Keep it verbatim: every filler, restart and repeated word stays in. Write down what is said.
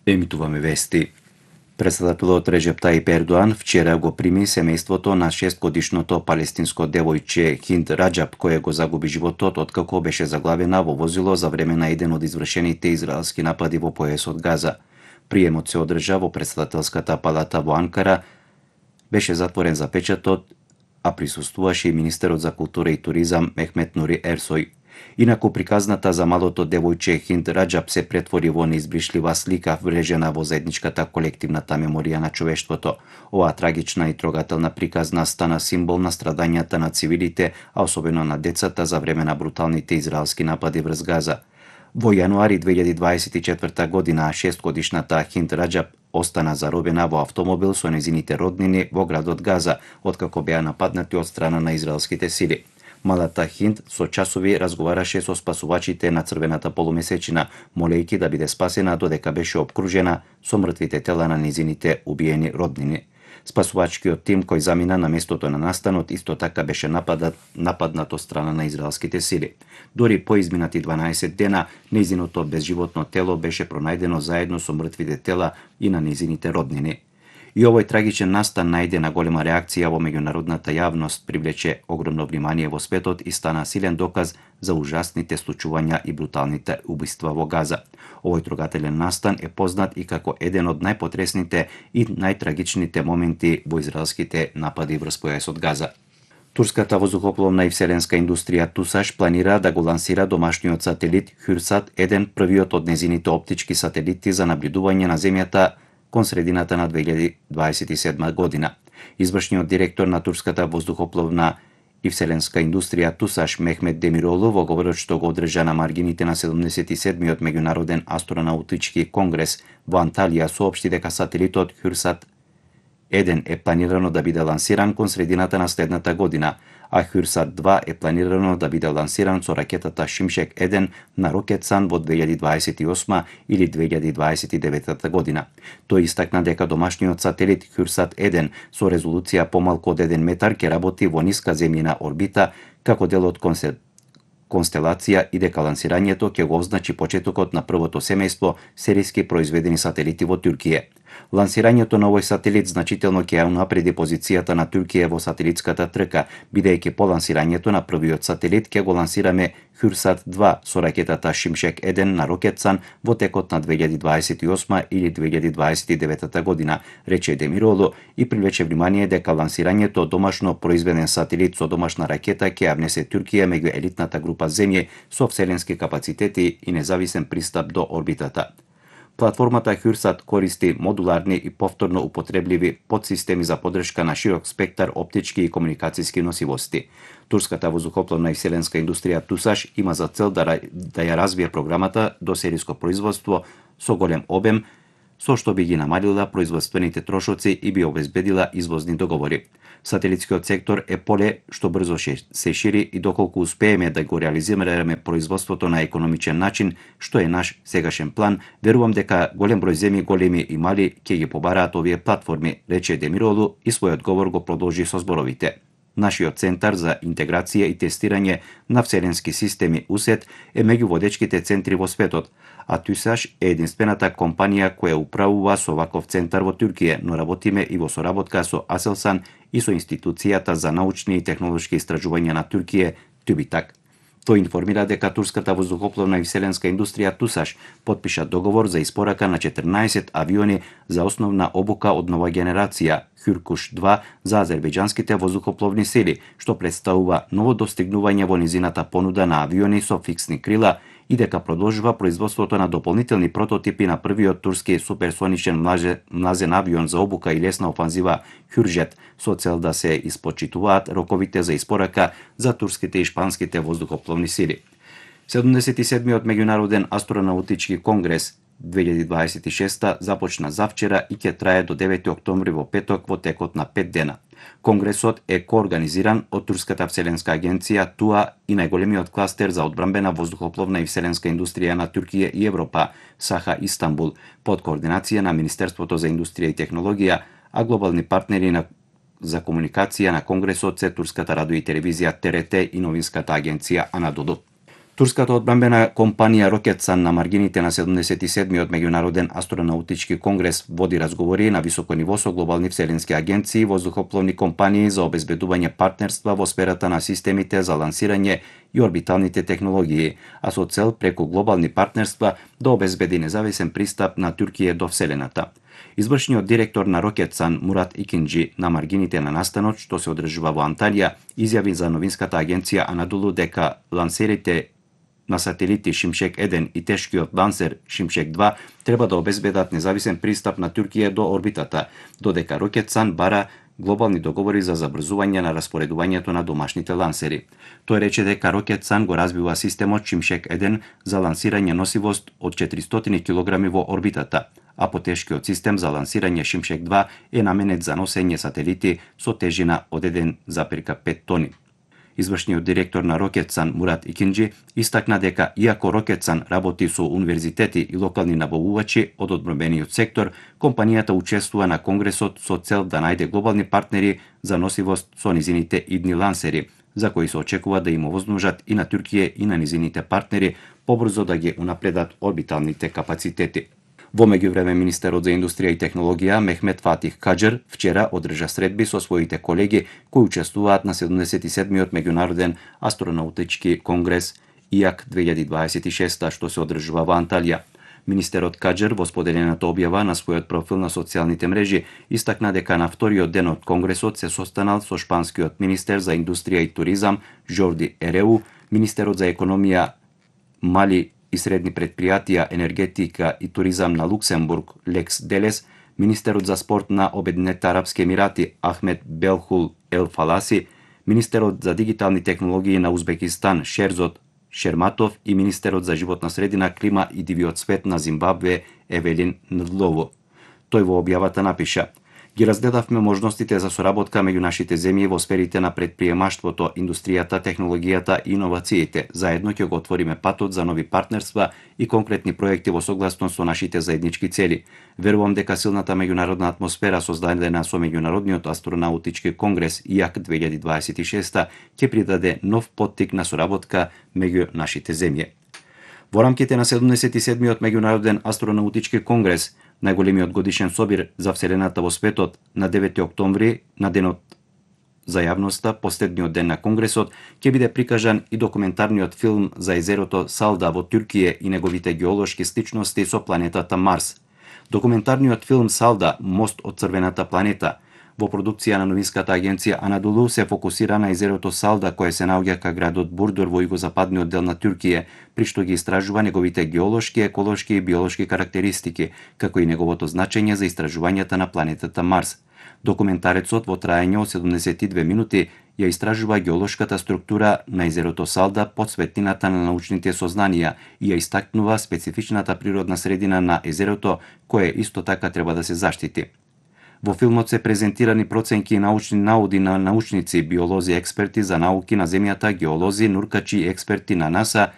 Емитуваме вести. Председателот Реджеп Таип Ердоан вчера го прими семејството на шестгодишното палестинско девојче Хинд Раџаб, кое го загуби животот откако беше заглавена во возило за време на еден од извршените израелски напади во појасот Газа. Приемот се одржа во председателската палата во Анкара, беше затворен за печатот, а присуствуваше и министерот за култура и туризам Мехмет Нури Ерсој. Инаку приказната за малото девојче Хинд Раџаб се претвори во неизбришлива слика врежена во заедничката колективната меморија на човештвото. Оваа трагична и трогателна приказна стана символ на страдањата на цивилите, а особено на децата за време на бруталните израелски напади врз Газа. Во јануари две илјади дваесет и четврта година шестгодишната Хинд Раџаб остана заробена во автомобил со нејзините роднини во градот Газа, откако беа нападнати од страна на израелските сили. Малата Хинд со часови разговараше со спасувачите на црвената полумесечина, молејќи да биде спасена додека беше обкружена со мртвите тела на незините убиени роднини. Спасувачкиот тим кој замина на местото на настанот исто така беше нападат, нападнат од страна на израелските сили. Дори по изминати дванаесет дена, незиното безживотно тело беше пронајдено заедно со мртвите тела и на незините роднини. И овој трагичен настан најде на голема реакција во меѓународната јавност, привлече огромно внимание во светот и стана силен доказ за ужасните случувања и бруталните убиства во Газа. Овој трогателен настан е познат и како еден од најпотресните и најтрагичните моменти во израелските напади врз појасот Газа. Турската воздухопловна и вселенска индустрија Тусаш планира да го лансира домашниот сателит Хюрсат еден, првиот од незините оптички сателити за наблюдување на земјата кон средината на две илјади дваесет и седма година. Извршниот директор на турската воздухопловна и вселенска индустрија Тусаш Мехмет Демиролу во говорот што го одржа на маргините на седумдесет и седмиот меѓународен астронаутички конгрес во Анталија соопшти дека сателитот Хюрсат еден е планирано да биде лансиран кон средината на следната година, а Хюрсат два е планирано да биде лансиран со ракетата Шимшек еден на Рокетсан во две илјади дваесет и осма или две илјади дваесет и девета година. Тој истакна дека домашниот сателит Хюрсат еден со резолуција помалку од еден метар ќе работи во ниска земјина орбита како дел од констелација и дека лансирањето ќе го означи почетокот на првото семејство серијски произведени сателити во Туркија. Лансирањето на овој сателит значително ќе ја унапреди позицијата на Туркија во сателитската трка, бидејќи по лансирањето на првиот сателит ќе го лансираме Хюрсат два со ракетата Шимшек еден на Рокетсан во текот на две илјади дваесет и осма или две илјади дваесет и девета година, рече Демиролу и привлече внимание дека лансирањето домашно произведен сателит со домашна ракета ќе ја внесе Туркија меѓу елитната група земји со вселенски капацитети и независен пристап до орбитата. Платформата Хюрсат користи модуларни и повторно употребливи подсистеми за поддршка на широк спектар оптички и комуникацијски носивости. Турската воздухопловна и вселенска индустрија Тусаш има за цел да, да ја развие програмата до серијско производство со голем обем, со што би ги намалила производствените трошоци и би обезбедила извозни договори. Сателитскиот сектор е поле што брзо се шири и доколку успееме да го реализираме производството на економичен начин, што е наш сегашен план, верувам дека голем број земји, големи и мали, ќе ги побараат овие платформи, рече Демиролу и својот говор го продолжи со зборовите. Нашиот центар за интеграција и тестирање на вселенски системи УСЕТ е меѓу водечките центри во светот, а Тусаш е единствената компанија која управува со ваков центар во Туркија, но работиме и во соработка со Аселсан и со Институцијата за научни и технолошки истражувања на Туркија, Тюбитак. Тој информира дека турската воздухопловна и вселенска индустрија Тусаш потпиша договор за испорака на четрнаесет авиони за основна обука од нова генерација Хюркуш два за азербејџанските воздухопловни сили, што представува ново достигнување во низината понуда на авиони со фиксни крила и дека продолжува производството на дополнителни прототипи на првиот турски суперсоничен млазен авион за обука и лесна офанзива Хюржет со цел да се испочитуваат роковите за испорака за турските и шпанските воздухопловни сили. седумдесет и седмиот меѓународен астронаутички конгрес две илјади дваесет и шеста започна завчера и ќе трае до девети октомври во петок во текот на пет дена. Конгресот е коорганизиран од Турската вселенска агенција ТУА и најголемиот кластер за одбранбена воздухопловна и вселенска индустрија на Туркија и Европа, Саха Истанбул, под координација на Министерството за индустрија и технологија, а глобални партнери на за комуникација на Конгресот се Турската радио и телевизија Т Р Т и новинската агенција Анадолу. Турската одбранбена компанија Рокетсан на маргините на седумдесет и седмиот меѓународен астронаутички конгрес води разговори на високо ниво со глобални вселенски агенции и воздухопловни компании за обезбедување партнерства во сферата на системите за лансирање и орбиталните технологии, а со цел преку глобални партнерства да обезбеди независен пристап на Туркија до вселената. Извршниот директор на Рокетсан Мурат Икинџи на маргините на настанот што се одржува во Анталија изјави за новинската агенција Анадолу дека лансерите на сателити Шимшек еден и тешкиот лансер Шимшек два треба да обезбедат независен пристап на Туркија до орбитата, додека Рокетсан бара глобални договори за забрзување на распоредувањето на домашните лансери. Тој рече дека Рокетсан го развива системот Шимшек еден за лансирање носивост од четиристотини килограми во орбитата, а потешкиот систем за лансирање Шимшек два е наменет за носење сателити со тежина од еден запирка пет тони. Извршниот директор на Рокетсан Мурат Икинџи истакна дека иако Рокетсан работи со универзитети и локални набавувачи од одбранбениот сектор, компанијата учествува на конгресот со цел да најде глобални партнери за носивост со низините идни лансери, за кои се очекува да им овозможат и на Туркија и на низините партнери побрзо да ги унапредат орбиталните капацитети. Во меѓувреме, министерот за индустрија и технологија Мехмет Фатих Каџер вчера одржа средби со своите колеги кои учествуваат на седумдесет и седмиот меѓународен астронаутички конгрес И А К две илјади дваесет и шеста што се одржува во Анталија. Министерот Каџер во споделената објава на својот профил на социјалните мрежи истакна дека на вториот ден од конгресот се состанал со шпанскиот министер за индустрија и туризам Жорди Ереу, министерот за економија, мали и средни предпријатија, енергетика и туризам на Луксембург Лекс Делес, министерот за спорт на Обединетите арапски емирати Ахмед Белхул Ел Фаласи, министерот за дигитални технологии на Узбекистан Шерзот Шерматов и министерот за животна средина, клима и дивиот свет на Зимбабве Евелин Ндлово. Тој во објавата напиша: Ги разгледавме можностите за соработка меѓу нашите земји во сферите на предприемаштвото, индустријата, технологијата и иновациите. Заедно ќе го отвориме патот за нови партнерства и конкретни проекти во согласност со нашите заеднички цели. Верувам дека силната меѓународна атмосфера создадена со меѓународниот астронаутички конгрес И А К две илјади дваесет и шеста ќе придаде нов поттик на соработка меѓу нашите земји. Во рамките на седумдесет и седмиот меѓународен астронаутички конгрес, најголемиот годишен собир за вселената во светот, на девети октомври, на денот за јавноста, последниот ден на конгресот, ќе биде прикажан и документарниот филм за езерото Салда во Туркија и неговите геолошки сличности со планетата Марс. Документарниот филм Салда, мост од црвената планета, во продукција на новинската агенција Анадолу се фокусира на езерото Салда кое се наоѓа кај градот Бурдур во југозападниот дел на Туркија, при што ги истражува неговите геолошки, еколошки и биолошки карактеристики, како и неговото значење за истражувањата на планетата Марс. Документарецот во траење од седумдесет и две минути ја истражува геолошката структура на езерото Салда под светлината на научните сознанија и ја истакнува специфичната природна средина на езерото, кое исто така треба да се заштити. Во филмот се презентирани проценки и научни науди на научници, биолози, експерти за науки на земјата, геолози, нуркачи и експерти на НАСА